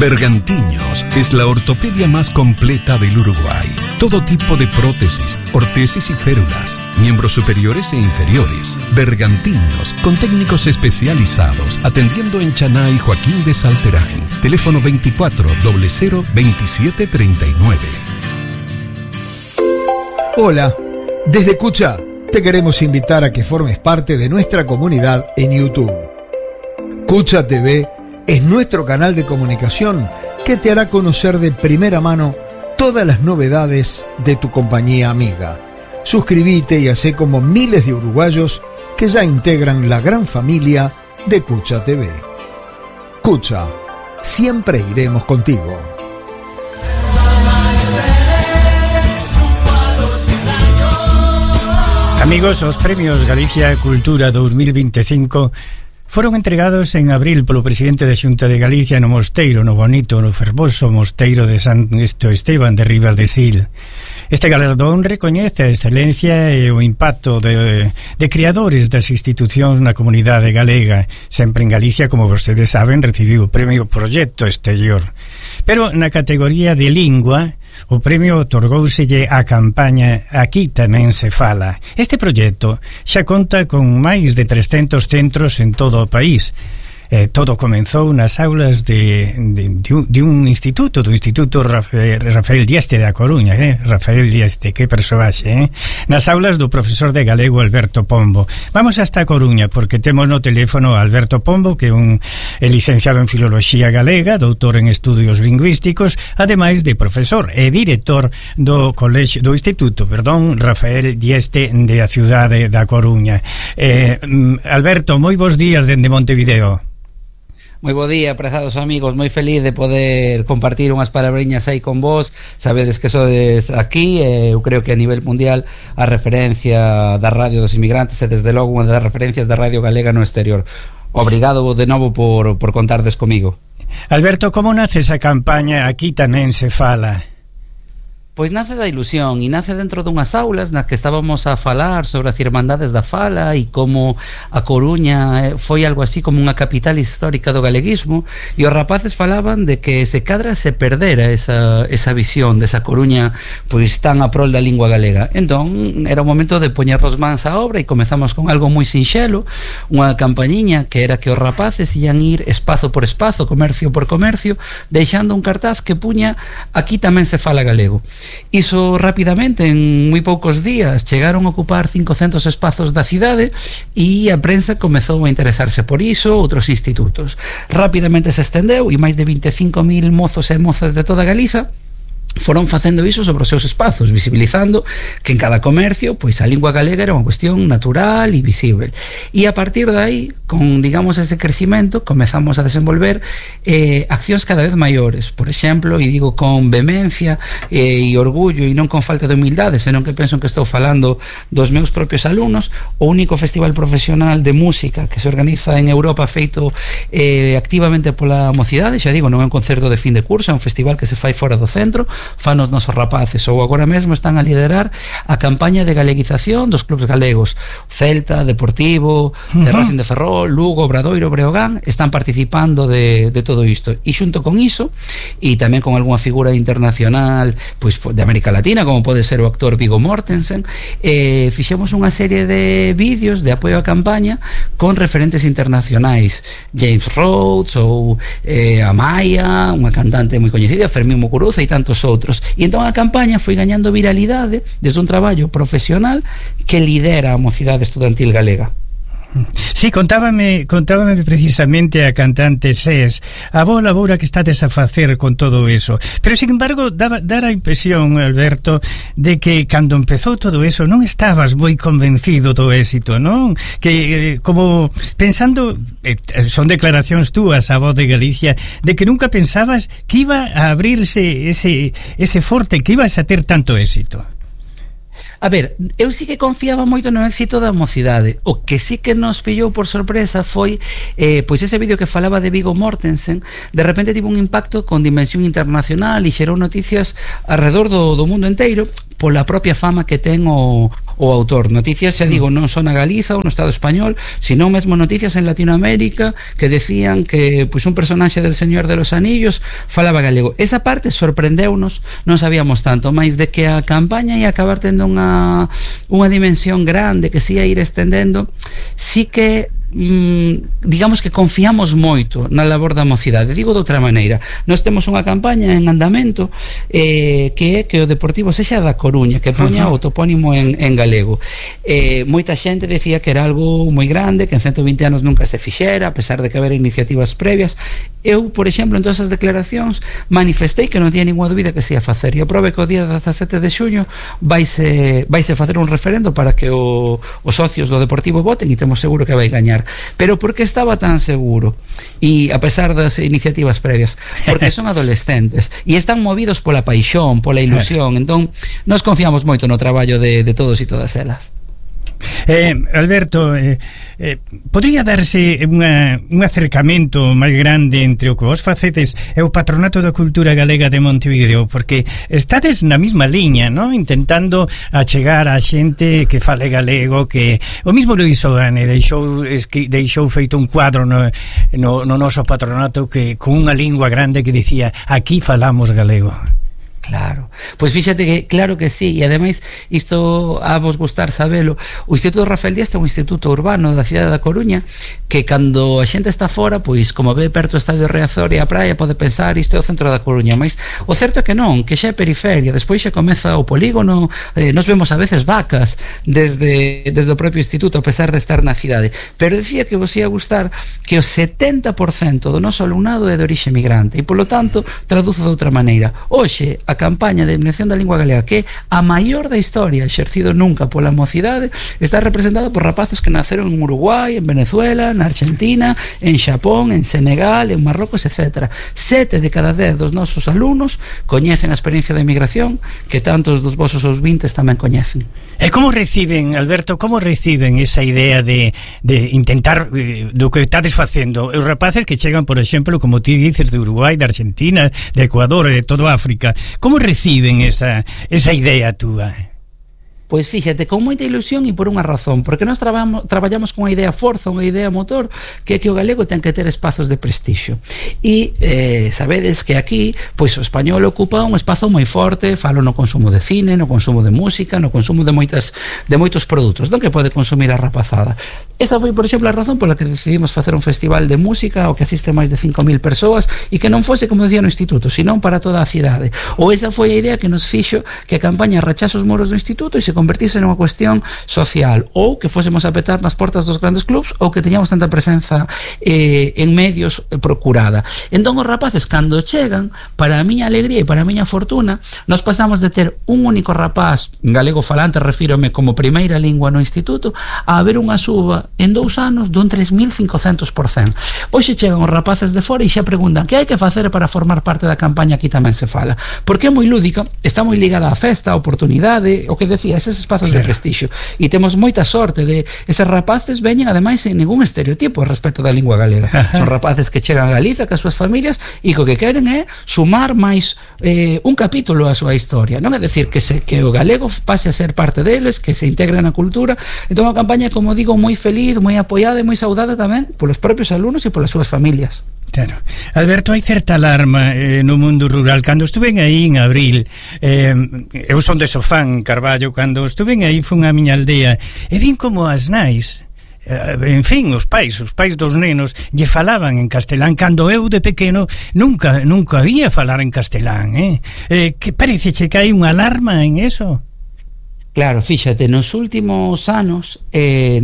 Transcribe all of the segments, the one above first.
Bergantiños es la ortopedia más completa del Uruguay. Todo tipo de prótesis, ortesis y férulas, miembros superiores e inferiores. Bergantiños, con técnicos especializados, atendiendo en Chaná y Joaquín de Salterán. Teléfono 24 00 27 39. Hola, desde Cucha te queremos invitar a que formes parte de nuestra comunidad en YouTube. Cucha TV es nuestro canal de comunicación que te hará conocer de primera mano todas las novedades de tu compañía amiga. Suscríbete y hacé como miles de uruguayos que ya integran la gran familia de Cucha TV. Cucha, siempre iremos contigo. Amigos, os premios Galicia Cultura 2025 foron entregados en abril polo presidente da Xunta de Galicia no mosteiro, no bonito, no fervoso mosteiro de San Esteban de Ribas de Sil. Este galardón recoñece a excelencia e o impacto de creadores das institucións na comunidade galega. Sempre en Galicia, como vostedes saben, recibiu o premio Proxecto Exterior. Pero na categoría de lingua, o premio otorgóuselle á campaña Aquí tamén se fala. Este proxecto xa conta con máis de 300 centros en todo o país. Todo comenzou nas aulas de un instituto, do Instituto Rafael Dieste da Coruña, Rafael Dieste, que persoaxe, nas aulas do profesor de galego Alberto Pombo. Vamos hasta a Coruña, porque temos no teléfono a Alberto Pombo, que é un licenciado en Filoloxía Galega, doutor en Estudios Lingüísticos, ademais de profesor e director do Instituto Rafael Dieste de a cidade da Coruña. Alberto, moi bons días dende Montevideo. Moi bo día, prezados amigos, moi feliz de poder compartir unhas palabriñas aí con vos. Sabedes que sodes aquí, eu creo que a nivel mundial a referencia da radio dos inmigrantes e desde logo unha das referencias da radio galega no exterior. Obrigado de novo por contardes comigo. Alberto, como nace esa campaña Aquí tamén se fala? Pois nace da ilusión e nace dentro dunhas aulas nas que estábamos a falar sobre as irmandades da fala e como a Coruña foi algo así como unha capital histórica do galeguismo, e os rapaces falaban de que se cadra se perdera esa visión desa Coruña pois tan a prol da lingua galega. Entón era o momento de poñernos mans á obra e comezamos con algo moi sinxelo, unha campañiña que era que os rapaces ian ir espazo por espazo, comercio por comercio, deixando un cartaz que puña Aquí tamén se fala galego. Iso rapidamente, en moi poucos días, chegaron a ocupar 500 espazos da cidade e a prensa comezou a interesarse por iso, outros institutos. Rapidamente se estendeu e máis de 25.000 mozos e mozas de toda Galiza foron facendo iso sobre os seus espazos, visibilizando que en cada comercio pois a lingua galega era unha cuestión natural e visible. E a partir de aí, con, digamos, ese crecimento, comezamos a desenvolver accións cada vez maiores. Por exemplo, e digo con vehemencia e orgullo e non con falta de humildade, senón que penso que estou falando dos meus propios alumnos, o único festival profesional de música que se organiza en Europa feito activamente pola mocidade, xa digo, non é un concerto de fin de curso, é un festival que se fai fora do centro, fan os nosos rapaces, ou agora mesmo están a liderar a campaña de galeguización dos clubes galegos. Celta, Deportivo, de Racing de Ferrol, Lugo, Obradoiro, Breogán están participando de todo isto. E xunto con iso, e tamén con algunha figura internacional pois de América Latina, como pode ser o actor Viggo Mortensen, fixemos unha serie de vídeos de apoio á campaña con referentes internacionais, James Rhodes ou Amaya, unha cantante moi coñecida, Fermín Muguruza e tantos outros. E entón a campaña foi gañando viralidade desde un traballo profesional que lidera a mocidade estudantil galega. Sí, contábame precisamente a cantante SES a boa labora que estades a facer con todo eso, pero sin embargo dar a impresión, Alberto, de que cando empezou todo eso non estabas moi convencido do éxito, non? Que como pensando, son declaracións túas a Voz de Galicia, de que nunca pensabas que iba a abrirse ese forte, que ibas a ter tanto éxito. A ver, eu sí que confiaba moito no éxito da mocidade. O que sí que nos pillou por sorpresa foi pois ese vídeo que falaba de Viggo Mortensen, de repente tivo un impacto con dimensión internacional e xerou noticias alrededor do mundo inteiro pola propia fama que ten o o autor. Noticias, xa digo, non só na Galiza ou no Estado español, sino mesmo noticias en Latinoamérica que decían que pois un personaxe del Señor de los Anillos falaba galego. Esa parte sorprendeunos, non sabíamos tanto, máis de que a campaña ia acabar tendo unha dimensión grande que se ia ir estendendo, sí que digamos que confiamos moito na labor da mocidade. Digo de outra maneira, nós temos unha campaña en andamento que é que o Deportivo sexa da Coruña, que poña o topónimo en galego. Moita xente decía que era algo moi grande, que en 120 anos nunca se fixera, a pesar de que haber iniciativas previas. Eu, por exemplo, en todas as declaracións manifestei que non tiña ninguna dúbida que se ia facer, e aprobe que o día 17 de xuño vaise facer un referendo para que os socios do Deportivo voten, e temos seguro que vai gañar. Pero por que estaba tan seguro? E a pesar das iniciativas previas, porque son adolescentes e están movidos pola paixón, pola ilusión. Entón, nós confiamos moito no traballo de todos e todas elas. Alberto, podría darse un acercamento máis grande entre o que vos facedes e o Patronato da Cultura Galega de Montevideo, porque estades na mesma liña, ¿no? Intentando achegar a xente que fale galego, que o mismo Luis Ogane deixou feito un cuadro no noso patronato que con unha lingua grande que dicía: aquí falamos galego. Claro, pois fíxate que claro que sí, e ademais isto a vos gustar sabelo. O Instituto Rafael Díaz é un instituto urbano da cidade da Coruña que cando a xente está fora, pois como ve perto o Estadio Riazor e a praia, pode pensar isto é o centro da Coruña, mas o certo é que non, que xa é periferia. Despois xa comeza o polígono, nos vemos a veces vacas desde o propio instituto, a pesar de estar na cidade. Pero decía que vos ia gustar que o 70% do noso alumnado é de orixe migrante, e polo tanto traduzo de outra maneira. Hoxe a campaña de eliminación da lingua galega, que é a maior da historia exercido nunca pola mocidade, está representada por rapaces que naceron en Uruguai, en Venezuela, na Argentina, en Xapón, en Senegal, en Marrocos, etc. 7 de cada 10 dos nosos alumnos coñecen a experiencia de emigración que tantos dos vosos ouvintes tamén coñecen. E como reciben, Alberto, como reciben esa idea de intentar do que estades facendo? Os rapaces que chegan, por exemplo, como ti dices, de Uruguai, de Argentina, de Ecuador e de todo África, como reciben esa idea túa? Pois fíxate, con moita ilusión e por unha razón, porque nós traballamos con unha idea forza, unha idea motor, que é que o galego ten que ter espazos de prestixio. E sabedes que aquí, pois o español ocupa un espazo moi forte, falo no consumo de cine, no consumo de música, no consumo de moitos produtos, non que pode consumir a rapazada. Esa foi, por exemplo, a razón pola que decidimos facer un festival de música ao que asiste máis de 5.000 persoas e que non fose, como decía, no instituto, senón para toda a cidade. Ou esa foi a idea que nos fixo que a campaña rachase os muros do instituto e se convertise nunha cuestión social, ou que fósemos a petar nas portas dos grandes clubs, ou que teñamos tanta presenza en medios procurada. Entón os rapaces, cando chegan, para a miña alegría e para a miña fortuna, nos pasamos de ter un único rapaz galego falante, refírome como primeira lingua no instituto, a haber unha suba en 2 anos dun 3.500%. Hoxe chegan os rapaces de fora e xa preguntan que hai que facer para formar parte da campaña. Aquí tamén se fala, porque é moi lúdica, está moi ligada á festa, á oportunidade, o que decía, eses espazos de prestixio, e temos moita sorte de eses rapaces veñen ademais sin ningún estereotipo respecto da lingua galega. Son rapaces que chegan a Galiza cas súas familias e co que queren é sumar máis un capítulo á súa historia, non é decir que o galego pase a ser parte deles, que se integre na cultura. Entón a campaña, como digo, moi feliz, moi apoiada e moi saudada tamén polos propios alumnos e polas súas familias. Claro. Alberto, hai certa alarma no mundo rural. Cando estuve aí en abril, eu son de Sofán, Carballo, cando estuve aí fun a miña aldea e vin como as nais, en fin, os pais dos nenos lle falaban en castelán, cando eu de pequeno nunca ia falar en castelán, que parece que hai unha alarma en eso? Claro, fíxate, nos últimos anos,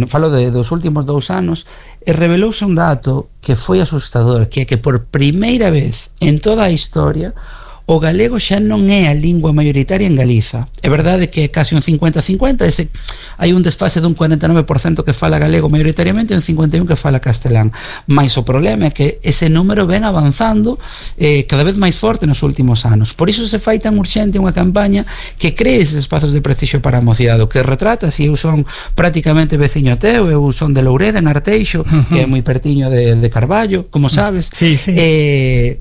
falo dos últimos 2 anos, revelouse un dato que foi asustador, que é que por primeira vez en toda a historia o galego xa non é a lingua maioritaria en Galiza. É verdade que é casi un 50-50, hai un desfase dun 49% que fala galego maioritariamente e un 51% que fala castelán. Mais o problema é que ese número ven avanzando cada vez máis forte nos últimos anos. Por iso se fai tan urxente unha campaña que cree eses espazos de prestixio para a mocidade, que retrata, se eu son prácticamente veciño teu, eu son de Loureda, en Arteixo, que é moi pertiño de Carballo, como sabes. Sí.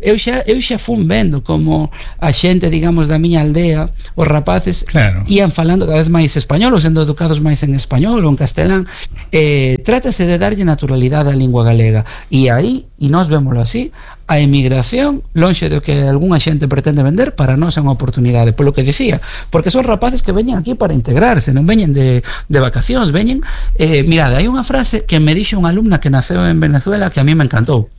Eu xa fun vendo como a xente, digamos, da miña aldea, os rapaces ían falando cada vez máis español, ou sendo educados máis en español ou en castelán. Trátase de darlle naturalidade á lingua galega, e aí, e nós vémoslo así, a emigración, lonxe do que algunha xente pretende vender, para nós é unha oportunidade, polo que dicía, porque son rapaces que veñen aquí para integrarse, non veñen de vacacións, veñen, mirade, hai unha frase que me dixo unha alumna que naceu en Venezuela que a mí me encantou.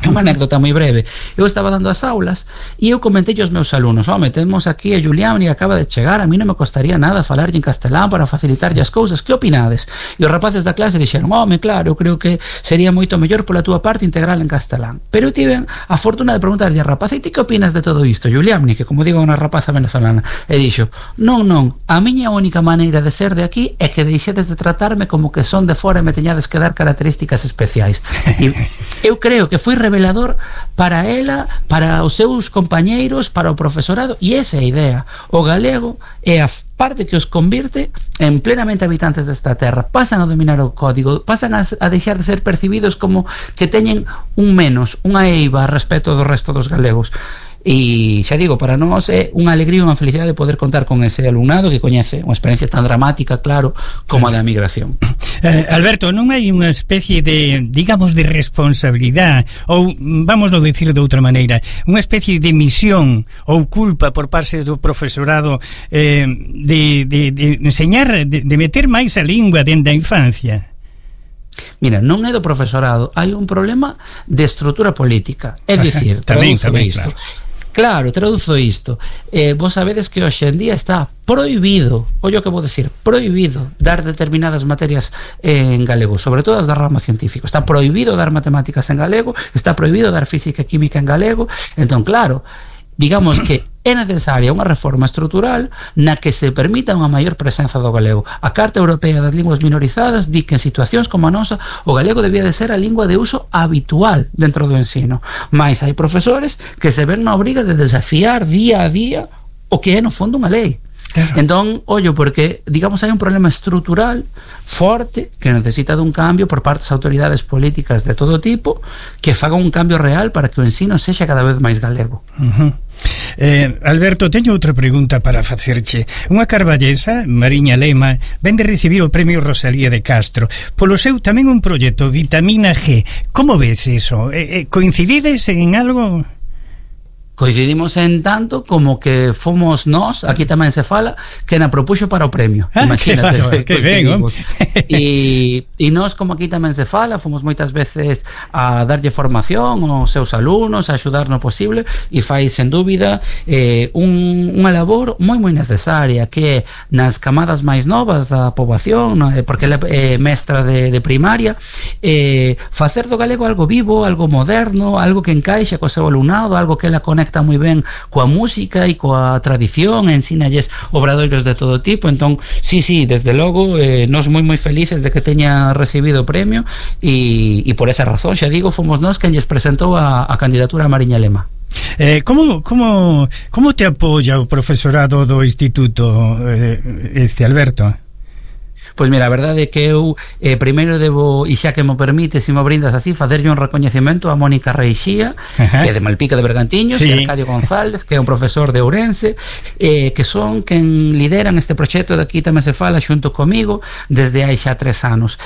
Unha anécdota moi breve. Eu estaba dando as aulas e eu comentei aos meus alumnos: home, temos aquí a Julián e acaba de chegar, a mí non me costaría nada falarlle en castelán para facilitarlle as cousas, que opinades? E os rapaces da clase dixeron: home, claro, eu creo que sería moito mellor pola túa parte integral en castelán. Pero eu tive a fortuna de preguntarlle a rapaz: e ti que opinas de todo isto, Julián? Que como digo, unha rapaza venezolana. E dixo: non, a miña única maneira de ser de aquí é que deixedes de tratarme como que son de fora e me teñades que dar características especiais. E eu creo que foi revelador para ela, para os seus compañeiros, para o profesorado, e esa é a idea. O galego é a parte que os convirte en plenamente habitantes desta terra. Pasan a dominar o código, pasan a deixar de ser percibidos como que teñen un menos, unha eiva respecto do resto dos galegos. E xa digo, para nós é unha alegría e unha felicidade poder contar con ese alumnado que coñece unha experiencia tan dramática, claro, como a da migración. Alberto, non hai unha especie de, digamos, de responsabilidade, ou, vamos a decir de outra maneira, unha especie de misión ou culpa por parte do profesorado de enseñar, de meter máis a lingua dentro da infancia? Mira, non é do profesorado, hai un problema de estrutura política. É dicir, tamén, isto. Claro, traduzo isto. Vos sabedes que hoxe en día está prohibido, ollo que vou decir, prohibido dar determinadas materias en galego, sobre todo as da rama científico. Está prohibido dar matemáticas en galego, está prohibido dar física e química en galego. Entón, claro, digamos que é necesaria unha reforma estrutural na que se permita unha maior presenza do galego. A Carta Europea das Linguas Minorizadas di que en situacións como a nosa o galego debía de ser a lingua de uso habitual dentro do ensino. Mais hai profesores que se ven na obriga de desafiar día a día o que é no fondo unha lei. Claro. Entón, ollo, porque, digamos, hai un problema estrutural forte que necesita dun cambio por parte das autoridades políticas de todo tipo, que faga un cambio real para que o ensino sexa cada vez máis galego. Alberto, teño outra pregunta para facerche. Unha carballesa, Mariña Lema, ven de recibir o premio Rosalía de Castro, polo seu tamén un proxecto Vitamina G. Como ves eso? Coincidides en algo? Coincidimos en tanto como que fomos nós, aquí tamén se fala, que na propuxo para o premio. Imagínate, que ben, e nós, como aquí tamén se fala, fomos moitas veces a darlle formación aos seus alumnos, a axudar no posible, e fai, sen dúbida, unha labor moi necesaria, que nas camadas máis novas da poboación, porque ela é mestra de primaria, facer do galego algo vivo, algo moderno, algo que encaixa co seu alumnado, algo que ela conecta moi ben coa música e coa tradición, ensínalles obradoiros de todo tipo. Entón, sí, desde logo, nós moi felices de que teña recibido o premio, e por esa razón, xa digo, fomos nós quen lles presentou a candidatura a Mariña Lema. Como te apoia o profesorado do instituto, Alberto? Pois mira, a verdade é que eu primeiro debo, e xa que me permite, se me brindas así, facerlle un recoñecemento a Mónica Reixía, que é de Malpica de Bergantiños, sí, e Arcadio González, que é un profesor de Ourense, que son quen lideran este proxecto de Aquí tamén se fala xunto comigo desde hai xa 3 anos.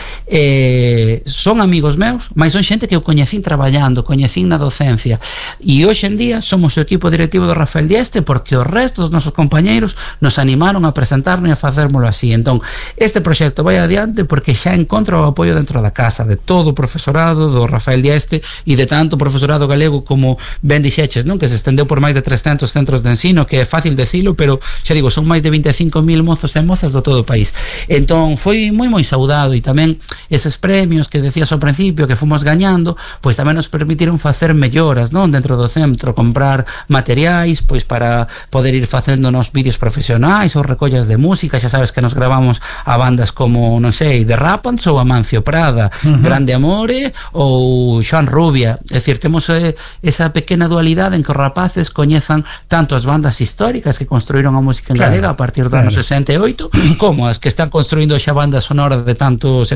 Son amigos meus, mas son xente que eu coñecín traballando, coñecín na docencia, e hoxe en día somos o equipo directivo do Rafael Dieste porque o resto dos nosos compañeiros nos animaron a presentarnos e a facérmolo así. Entón, este proxecto vai adiante porque xa encontra o apoio dentro da casa de todo o profesorado do Rafael Dieste e de tanto profesorado galego como ben dixeches, non? Que se estendeu por máis de 300 centros de ensino, que é fácil decilo, pero xa digo, son máis de 25.000 mozos e mozas do todo o país. Entón foi moi saudado, e tamén eses premios que decías ao principio que fomos gañando, pois tamén nos permitiron facer melloras, non? Dentro do centro, comprar materiais pois para poder ir facéndonos vídeos profesionais ou recollas de música. Xa sabes que nos gravamos a bandas como, non sei, The Rapans ou Amancio Prada, Grande Amore ou Xoan Rubia. É dicir, temos esa pequena dualidade en que os rapaces coñezan tanto as bandas históricas que construíron a música en galega a partir do ano 68, como as que están construindo xa bandas sonoras de tantas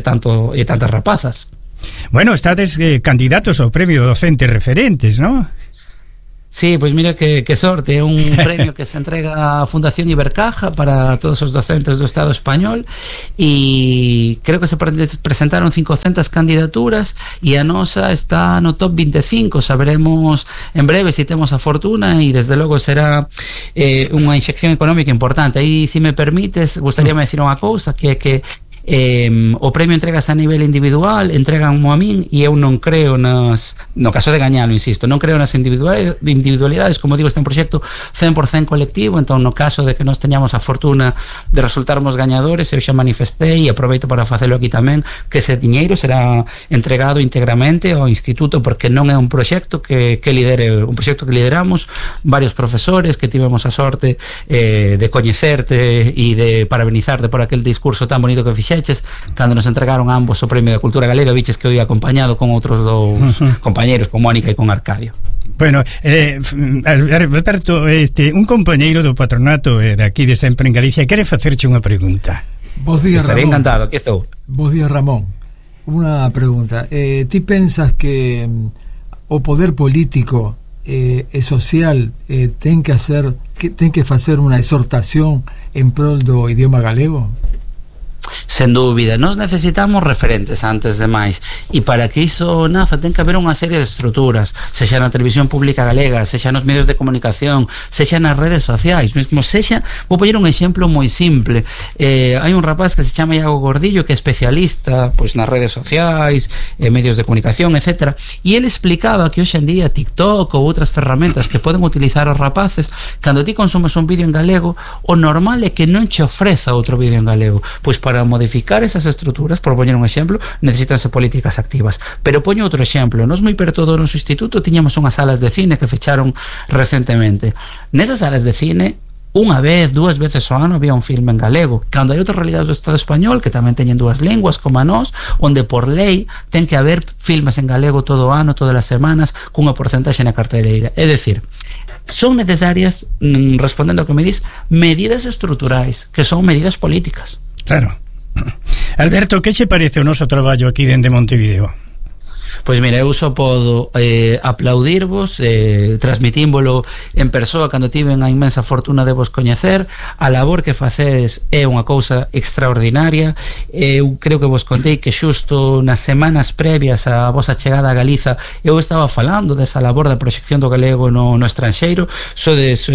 rapazas. Bueno, estades candidatos ao premio Docentes Referentes, non? Sí, pois mira que sorte, é un premio que se entrega a Fundación Ibercaja para todos os docentes do Estado español, e creo que se presentaron 500 candidaturas e a nosa está no top 25. Saberemos en breve se temos a fortuna, e desde logo será unha inxección económica importante. Aí, se me permites, gustaríame decir unha cousa, que é que o premio entregas a nivel individual, entreganmo a min, e eu non creo no caso de gañalo, insisto, non creo nas individualidades. Como digo, este é un proxecto 100% colectivo, entón no caso de que nos teñamos a fortuna de resultarmos gañadores, eu xa manifestei e aproveito para facelo aquí tamén, que ese diñeiro será entregado íntegramente ao instituto, porque non é un proxecto que lidere, un proxecto que lideramos varios profesores, que tivemos a sorte de coñecerte e de parabenizarte por aquel discurso tan bonito que fixeches cando nos entregaron a ambos o Premio da Cultura Galega. Viches que eu ia acompañado con outros dous compañeiros, con Mónica e con Arcadio. Bueno, Alberto, un compañeiro do patronato de aquí de Sempre en Galicia quere facerche unha pregunta. Bos días, Estaré Ramón. encantado, aquí estou. Bos días, Ramón. Unha pregunta. Ti pensas que o poder político e social ten que facer unha exhortación en prol do idioma galego? Sen dúbida, nós necesitamos referentes antes de máis, e para que iso naza ten que haber unha serie de estruturas, sexa na televisión pública galega, sexa nos medios de comunicación, sexa nas redes sociais, mesmo sexa, vou poñer un exemplo moi simple, hai un rapaz que se chama Iago Gordillo, que é especialista pois nas redes sociais, medios de comunicación, etc, e ele explicaba que hoxe en día TikTok ou outras ferramentas que poden utilizar os rapaces, cando ti consumes un vídeo en galego, o normal é que non che ofreza outro vídeo en galego, pois para modificar esas estruturas, por poñer un exemplo, necesitanse políticas activas. Pero poño outro exemplo, nos moi perto do noso instituto tiñamos unhas salas de cine que fecharon recentemente. Nesas salas de cine, unha vez, dúas veces ao ano había un filme en galego, cando hai outras realidades do Estado español que tamén teñen dúas linguas como a nós, onde por lei ten que haber filmes en galego todo o ano, todas as semanas, cunha porcentaxe na carteleira. É dicir, son necesarias, respondendo ao que me dis, medidas estruturais, que son medidas políticas. Claro. Alberto, que che parece o noso traballo aquí dende Montevideo? Pois mira, eu só podo aplaudirvos, transmitímbolo en persoa cando tiven a inmensa fortuna de vos coñecer. A labor que facedes é unha cousa extraordinaria. Eu creo que vos contei que xusto nas semanas previas a vosa chegada a Galiza eu estaba falando desa labor da proxección do galego no estranxeiro. Sodes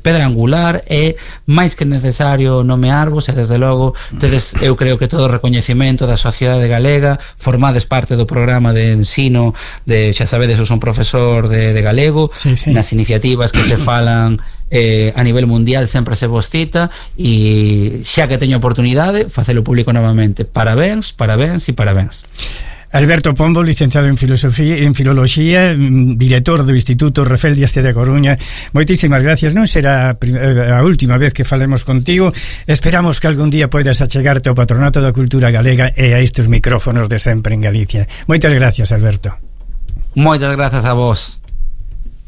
pedra angular, é máis que necesario nomearvos, e desde logo tedes, eu creo que todo o recoñecemento da sociedade galega, formades parte do programa de ensino xa sabedes, eu son profesor de galego, sí. Nas iniciativas que se falan a nivel mundial sempre se vos cita, e xa que teño oportunidade facelo público novamente. Parabéns, parabéns e parabéns. Alberto Pombo, licenciado en Filoloxía, director do Instituto Rafael Díaz de Coruña, moitísimas gracias. Non será a última vez que falemos contigo. Esperamos que algún día poidas achegarte ao Patronato da Cultura Galega e a estes micrófonos de Sempre en Galicia. Moitas gracias, Alberto. Moitas grazas a vos.